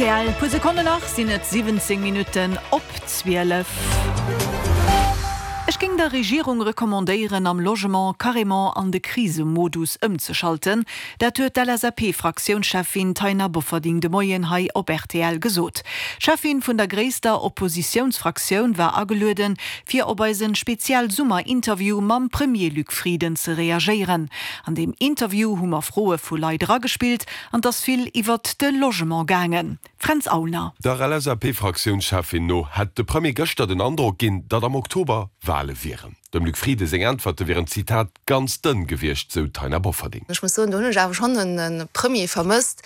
Rtl. Puer Sekonnen nach sinn et 17 Minutten op 12. Ech géing der Regierung recommandéieren, am Logement carrément an de Krisemodus ëmzeschalten. Dat huet d'LSAP-Fraktiounscheffin Taina Bofferding de Moien hei op rtl gesot. D'Cheffin vun der gréisster Oppositiounsfraktioun war agelueden, fir op eisen Spezial-Summer-Interview mam Premier Luc Frieden ze reagéieren. An deem Interview hu mer Froe vu Leit eragespillt an 't ass vill iwwert de Logement gaangen. Fränz Aulner. Der LSAP-Fraktiounscheffin no hätt de Premier gëschter den Androck ginn, datt am Oktober Wale wieren. Dem Luc Frieden seng Äntwerte wieren, Zitat, ganz dënn gewiescht, sou d'Taina Bofferding. Ech muss soen, do hunn ech awer schonn e Premier vermësst,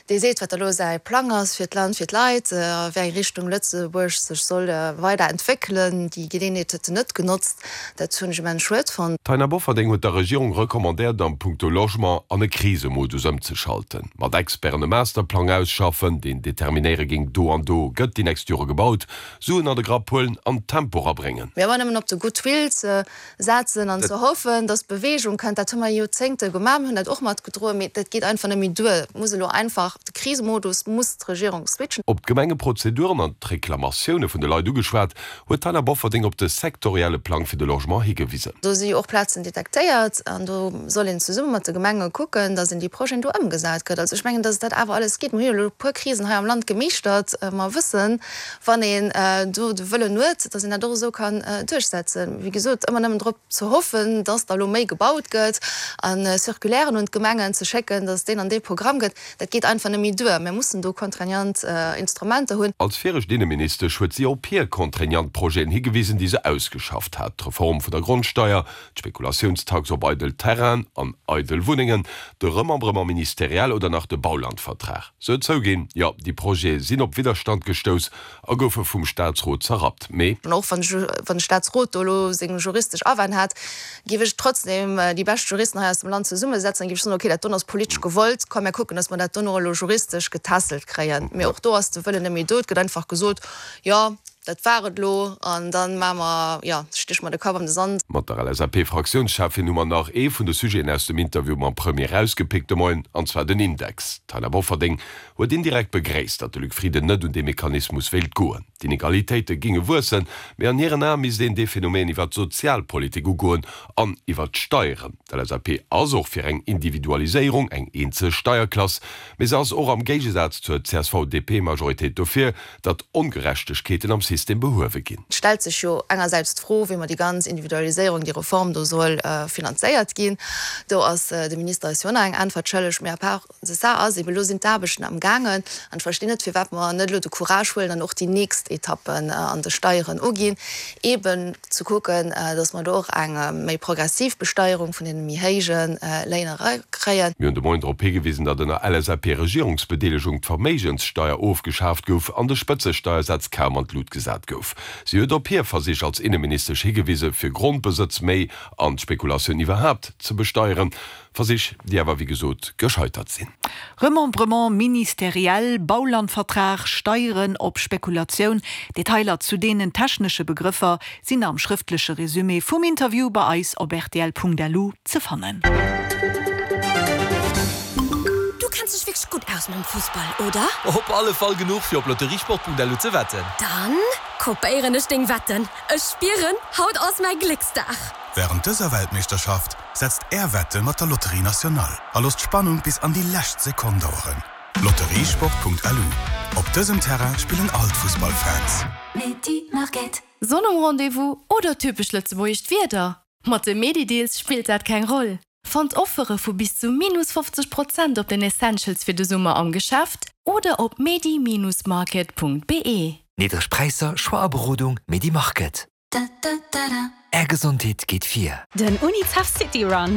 dee seet, wat da lo säi Plang ass fir d'Land, fir d'Leit, a wéi eng Richtung Lëtzebuerg sech soll weider entwéckelen. Déi Geleeënheet huet en net genotzt. Dat hunn ech immens schued fonnt. D'Taina Bofferding huet der Regierung recommandéiert, am Punkto Logement an e Krisemodus ëmzeschalten, mat Experten e Masterplang ausschaffen, deen determinéiere géing, do an do gëtt déi nächst Jore gebaut, Suen an de Grapp huelen an Tempo rabréngen. Mee ëmmer nëmmen op de Goodwill ze setzen an ze hoffen, dass Beweegung kënnt, dat hu mer Joerzéngte gemaach, mir hunn dat och matgedroen, mee dat geet einfach net méi duer. Et muss elo einfach, de Krisemodus muss d'Regierung switchen. Op d'Gemengeprozeduren an d'Reklamatioune vun de Leit ugeschwat, huet d'Taina Bofferding op de sektorielle Plang fir de Logement higewisen. Do si jo och Plazen detektéiert an do soll een zesumme mat de Gemenge kucken, datt een déi Projeten do ëmgesat kritt. Also ech mengen, datt et dat awer alles geet. Mir hu jo elo e puer Krisen hei am Land gemeeschtert. Mer wëssen, wann een do de Wëllen huet, datt een dat och esou kann duerchsetzen. Wéi gesot, ëmmer nëmmen drop ze hoffen, datt da elo méi gebaut gëtt a Circulairen un d'Gemengen ze schécken, datt et deen an dee Programm gëtt, Dat geet einfach net méi duer. Mir mussen do contraignant Instrumenter hunn. Als viregt Inneministesch huet si op hir contraignant Projeten higewisen, déi se ausgeschafft hat, d'Reform vun der Grondsteier, d'Spekulatiounstax op eidel Terrainen an eidel Wunnengen, de Remembrement ministériel oder nach de Baulandvertrag. Se huet zouginn, jo, déi Projete sinn op Widderstand gestouss a goufe vum Staatsrot zerrappt, mee. An och wann de Staatsrot do elo seng juristesch Awänn hat, géif ech trotzdem déi bescht Juristen hei aus dem Land zesummesetzen an géif ech soen, okay, dat don ass politesch gewollt, komm mir kucken, datt mer dat dono elo juristesch getässelt kréien. Mee och do ass de Wëllen net méi do. Et gëtt einfach gesot, jo, dat war et elo an da maache mer, jo, stéche mer de Kapp an de Sand. Mat der LSAP-Fraktiounscheffin hu mer nach ee vun de Sujeten aus dem Interview mam Premier erausgepickt de Moien, an zwar den Index. D'Taina Bofferding huet indirekt begréisst, datt de Luc Frieden net un dee Mechanismus wéilt goen. D'Inegalitéite géinge wuessen, mee an hiren Ae misst een dee Phänomen iwwer d'Sozialpolitik ugoen an iwwer d'Steieren. D'LSAP ass och fir eng Individualiséierung, eng eenzel Steierklass, mee se ass och am Géigesaz zur CSV-DP-Majoritéit dofir, datt Ongerechtegkeeten am System behuewe ginn. Et stellt sech jo engersäits d'Fro, wéi mer déi ganz Individualiséierung, déi Reform do soll finanzéiert ginn. Do ass de Minister eis jo och nach eng Äntwert schëlleg. Mee à part de ça ass eben, elo sinn d'Aarbechten am gaangen an ech verstinn net, firwat mer net elo de Courage huelen an och déi nächst Etappen an de Steieren uginn, eben ze kucken, datt mer do och eng méi progressiv Besteierung vun deene méi héije Léin erakréien. Mir hunn de Moien drop higewisen, datt ënner LSAP-Regierungsbedeelegung d'Verméigenssteier ofgeschaaft gouf an de Spëtzesteiersaz kaum an d'Lut gesat gouf. Si huet op hir Versich als Inneministesch higewise fir Grondbesëtz méi an d'Spekulatioun iwwerhaapt ze besteieren. Versich, déi awer wéi gesot gescheitert sinn. Remembrement ministériel, Baulandvertrag, Steieren op Spekulatioun, Detailer zu deenen technesche Begrëffer sinn am schrëftleche Resumé vum Interview bei eis op rtl.lu ze fannen. Du kenns dech wierklech gutt aus mam Fussball, oder? Op alle Fall genuch fir op lotteriesport.lu ze wetten. Dann kopéieren ech deng Wetten. Ech spieren, haut ass mäi Glécksdag! Wärend dëser Weltmeeschterschaft setzt Är Wette mat der Loterie Nationale a loosst d'Spannung bis an déi lescht Sekonn daueren. Lotteriesport.lu Op dësem Terrain spillen all d'Fussballfans. Sonn um Rendez-vous oder typesch lëtzebuergescht Wieder? Mat de Medi-Deals spillt dat keng Roll. Fannt Offere vu bis zu minus 50 Prozent op den Essentials fir de Summer am Geschäft oder op medi-market.be. Niddreg Präisser, Choix a Berodung, Medi Market. Är Gesondheet geet vir. Den Unicef City Run.